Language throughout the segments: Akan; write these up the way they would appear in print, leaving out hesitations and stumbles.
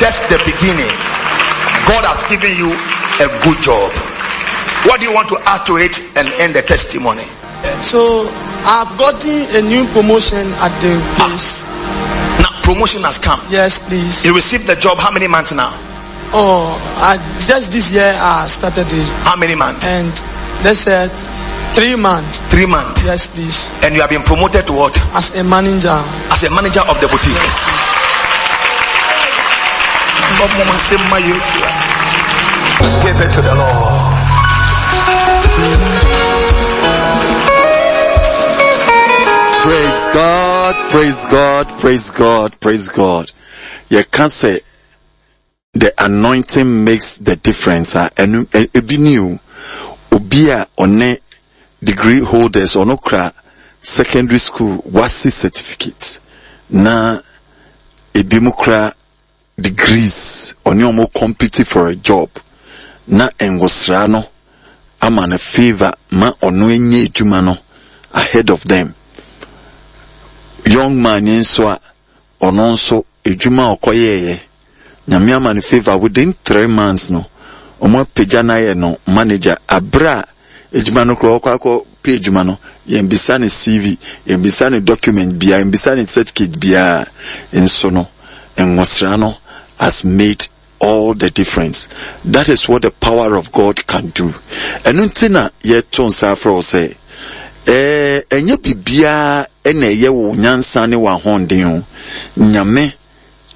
just the beginning. God has given you a good job. What do you want to add to it and end the testimony? So I've gotten a new promotion at the place. Ah, now promotion has come. Yes, please. You received the job how many months now? Oh, I, just this year I started it. How many months? And they said three months. Three months. Yes, please. And you have been promoted to what? As a manager. As a manager of the boutique. Yes, please. Give it to the Lord. Praise God, praise God, praise God, praise God. You can say the anointing makes the difference a ɛno ebi ni o. Obi a ɔne degree holders ɔno kura secondary school wasi certificate na ebi mu kura degrees ɔne ɔmo compete for a job na ngosra no ama no favour ma ɔno anya adwuma no ahead of them. Young man yi nso a Ɔno nso edwuma a ɔkɔyɛeɛ, Nyame ama no favour within three months no, ɔmo apagya no ayɛ no manager aberɛ a edwuma no koraa ɔkɔ akɔ pɛ edwuma no, yɛnbisa no CV, yɛnbisa no document biaa, yɛnbisa no certificate biaa, nso no nwosra no has made all the difference. That is what the power of God can do. Ɛno nti na yɛto nsa afrɛ wo sɛ, ɛɛ ɛnyɛ biribiara na ɛyɛ wo nyansa ne w'ahoɔden o. Nyame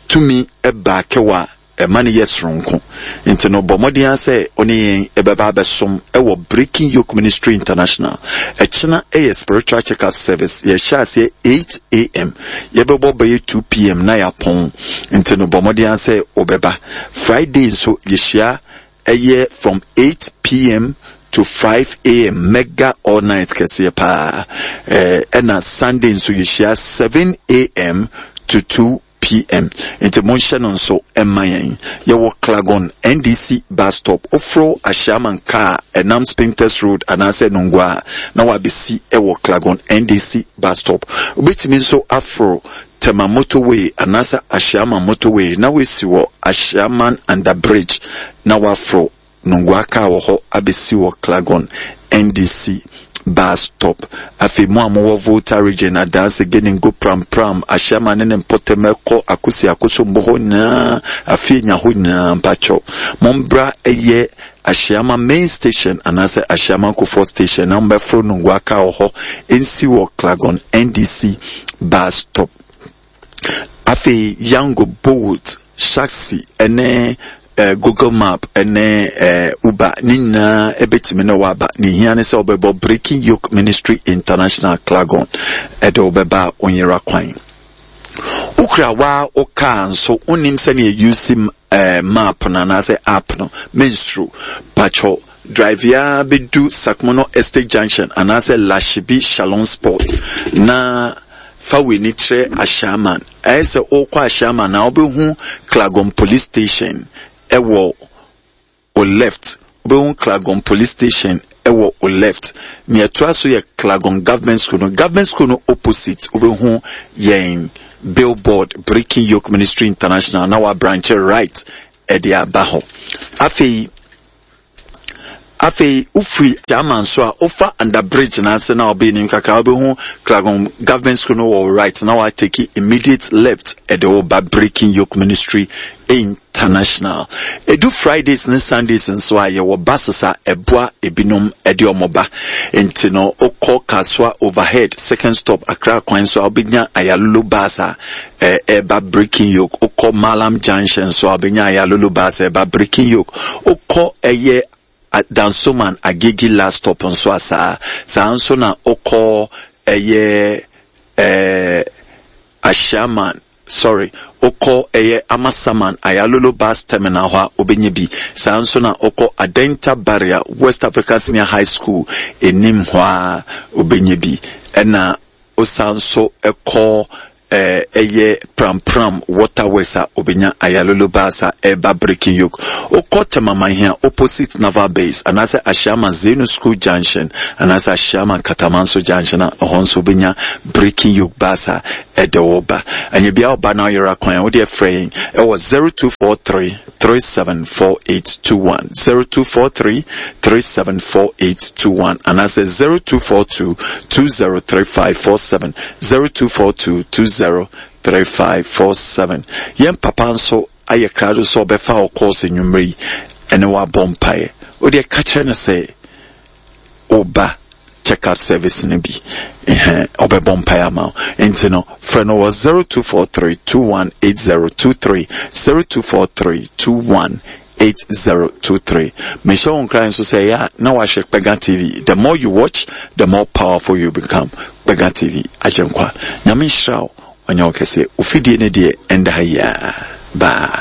tumi baake wo a, ɛma no yɛ soronko. Nti no bɔ mmɔden ara sɛ wo ne yɛn bɛba abɛsom wɔ Breaking Yoke Ministry International. Ɛkyena yɛ spiritual check up service. Yɛhyɛ aseɛ 8 am. Yɛbɛbɔ bɛyɛ 2 pm na yɛapɔn. Nti no bɔ mmɔden ara sɛ wobɛba. Friday nso yɛhyia ɛyɛ from 8 pm to 5 am mega all night kɛseɛ paa. Ɛna Sunday nso yɛhyia 7 am to 2 PM. Nti monhyɛ no nso mma yɛn. Yɛwɔ Clagon NDC bus stop. Woforo Ashaiman car a ɛnam Spintex Road anaasɛ Nungua a, na wabɛsi wɔ Clagon NDC bus stop. Wobɛtumi nso aforo Tema Motorway anaasɛ Ashaiman Motorway na woasi wɔ Ashaiman Under Bridge na woaforo Nungua kaa wɔ hɔ abɛsi wɔ Clagon NDC bus stop. Afei mo a mowɔ Volta Region, Adanse, Geningo, Pram Pram, Ashaiman ne ne mpɔtam ɛkɔ Akosi Akosombo hɔ nyinaa, Afienya hɔ nyinaa mpakyɛw mombra ɛyɛ Ashaiman main station anaasɛ Ashaiman Kufuor station na mombɛforo Nungua kaa wɔ hɔ nsi wɔ Clagon NDC bus stop. Afei Yango, Bolt, Shaxi ne eh, Google Map ne eh, Uber ne nyinaa ɛbɛtumi ne waba. Ne hia ne sɛ wobɛbɔ Breaking Yoke Ministry International Clagon ɛde wobɛba a wonyera kwan. Wokura waa wo kaa nso wonim sɛnea yusi eh, map no anaasɛ app no, mensuro. Pakyɛw, drive ara bɛdu Sakmono Estate Junction anaasɛ Lashibi Shalom Spot na fa w'ani kyerɛ Ashaiman. Ayɛ sɛ wokɔ Ashaiman a wobɛhu Klagon Police Station ɛwɔ o left. Wobɛhu Klagon Police Station ɛwɔ o left. Nea ɛtoa so yɛ Klagon Government School no. Government School no opposite wobɛhu yɛn billboard Breaking Yoke Ministry International na wabranche right ɛde aba hɔ. Afei afei wofiri Aman so a wofa under bridge no ase na wobɛyɛ nim kakra wobɛhu Klagon Government School no wɔ right na watake immediate left ɛde wo ba Breaking Yoke Ministry International. Edu Fridays ne Sundays nso a, yɛwɔ buses a ɛboa ebinom de wɔn ba. Nti no, wokɔ Kasoa Overhead, second stop, Accra kwan so a, wobɛnya Ayalolo bus a ɛreba Breaking Yoke. Wokɔ Mallam Junction nso a, wobɛnya Ayalolo bus a ɛreba Breaking Yoke. Wokɔ ɛyɛ Dansoman Agege last stop nso a saa. Saa nso na wokɔ ɛyɛ ɛɛ Ashiaman Sorry, wokɔ ɛyɛ Amasaman Ayalolo Bus Terminal hɔ a wobɛnya bi. Saa nso na wokɔ Adenta Barrier West Africa Senior High School anim hɔ a wobɛnya bi. Ɛna wosan nso kɔ ɛyɛ Pram Pram Water Works a wobɛnya Ayalolo Bus a ɛreba Breaking Yoke. Wokɔ Temamanhia opposite Naval Base anaasɛ Ashiaman Zenu School Junction anaasɛ Ashiaman Katamanso Junction a ɛhɔ nso wobɛnya Breaking Yoke Bus a. Ɛde wo ba. Ɛnyɛ bia wo ba na ɔyera kwan a, wo deɛ frɛ yɛn ɛwɔ 0243 374821, 0243 374821 anaasɛ 0242 203547, 0242 203547. Yɛn papa nso ayɛ krado sɛ ɔbɛfa wo calls anwummerɛ yi ɛne wo abɔ mpaeɛ. Wo deɛ ka kyerɛ no sɛ wo ba check up service no bi ɛhɛn ɔbɛbɔ mpaeɛ ama wo nti no frɛ no wɔ 0243 218023 0243 218023 mehyɛ wo nkran nso sɛ ɛyɛ a na wahwɛ Kpega TV the more you watch the more powerful you become Kpega TV agye nkwa nyame nhyira wo ɔnyɛ wo kɛseɛ ofidie ne deɛ ɛnda ha yiaa bye.